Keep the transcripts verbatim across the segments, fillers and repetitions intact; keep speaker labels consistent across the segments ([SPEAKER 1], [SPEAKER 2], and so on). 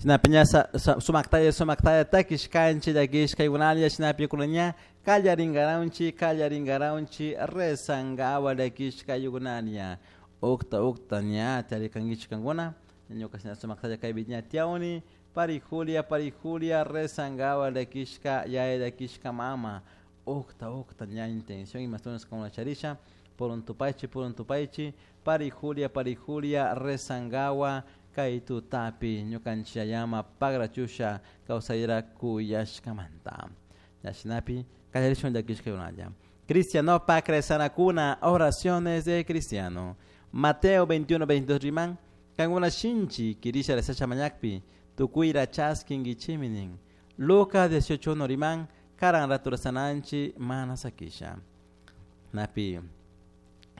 [SPEAKER 1] Shinapi ña sumaktalla sumaktalla takishkanchik llakishkaykunalla shinapi kuna ña kallarinkaranchik kallarinkaranchik rezankawa llakishkaykunalla ukta ukta ña tiyarikankichik kankuna ñuka shina sumaktalla kaypi ña tiyawni pari Julia pari Julia rezankawa llakishka yaya llakishka mama ukta ukta ña intención imashtunas kankuna charisha purun tupaychik purun tupaychik pari Julia pari Julia rezankawa kay tutapi ñukanchik yayama pagrachusha kawsayra kuyashkamanta ña shinapi kallarishun llakishkaykunalla Cristianopak rezanakuna oraciones de cristiano Mateo veintiuno veintidós riman kankuna shinchi kirisha rezasha mañakpi tukuyra chaskinkichikmi nin Lucas dieciocho uno riman karan ratu rezananchik mana sakisha napi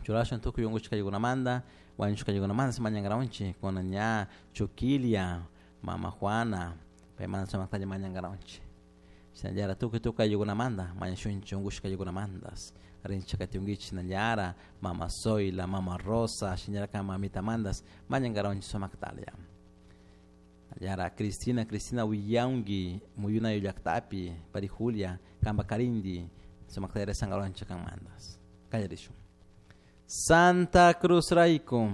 [SPEAKER 1] churashun tukuy unkushkaykunamanta wañushkaykunamanta mañankaranchik kuna ña Chuquilia mama Juana paymanta sumaktalla mañankaranchik shinallara tukuy tukuy ayllukunamanta mañashunchik unkushkaykunamantas rinchik katiunkichik shinallara mama Zoila mama Rosa shinallara mamitamantas mañankaranchik sumaktalla Yara Cristina Cristina willawnki muyunayu llaktapi pari Julia kampa karinti sumaktalla rezankaranchik kanmantas kallarishun Santa Cruz rayku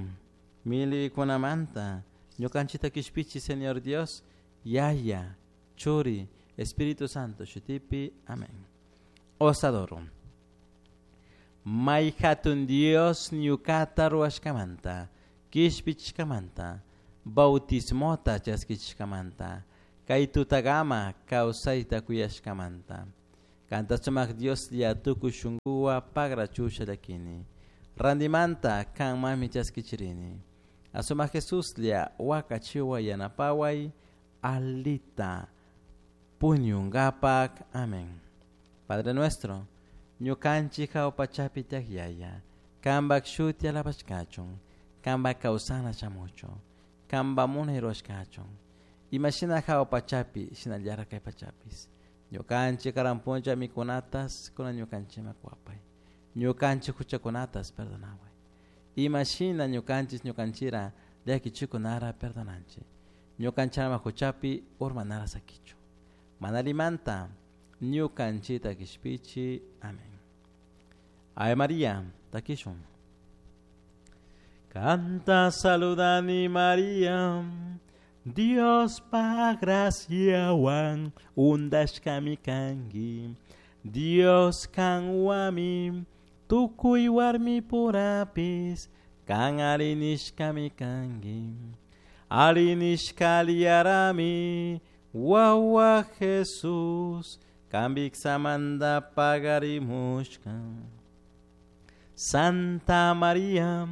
[SPEAKER 1] millaykunamanta ñukanchikta kishpichi Señor Dios Yaya Churi Espíritu Santo shutipi amén Os adoro May hatun Dios ñukata ruwashkamanta kishpichishkamanta bautismota chaskichishkamanta kay tutakama kawsayta kuyashkamanta kanta sumak Dioslla tukuy shunkuwan pagrachusha llakini rantimanta kanmanmi chaskichirini asumak Jesuslla wakachiway yanapaway alita puñunkapak amén Padre nuestro ñukanchik hawa pachapi tiyak yaya kampak shuti alabashkachun kampak kawsana shamuchun kampak munay rurashkachun imashina hawa pachapi shinallara kay pachapis ñukanchik karan puncha mikunatas kunan ñukanchikman kuwapay ñukanchik huchakunatas perdonaway imashina ñukanchik ñukanchira llakichikunara perdonanchik ñukanchikama huchapi urmanara sakichu mana allimanta ñukanchikta kishpichi amén Ave María takishun Kanta saludani María Diospa graciawan undashkami kanki Dios kanwami tukuy warmi purapis kan arinishkami kanki arinishkallarami wawa Jesús kambiksamanta pagarimushka Santa María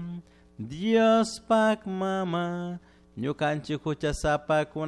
[SPEAKER 1] Diospak mama ñukanchik huchasapakuna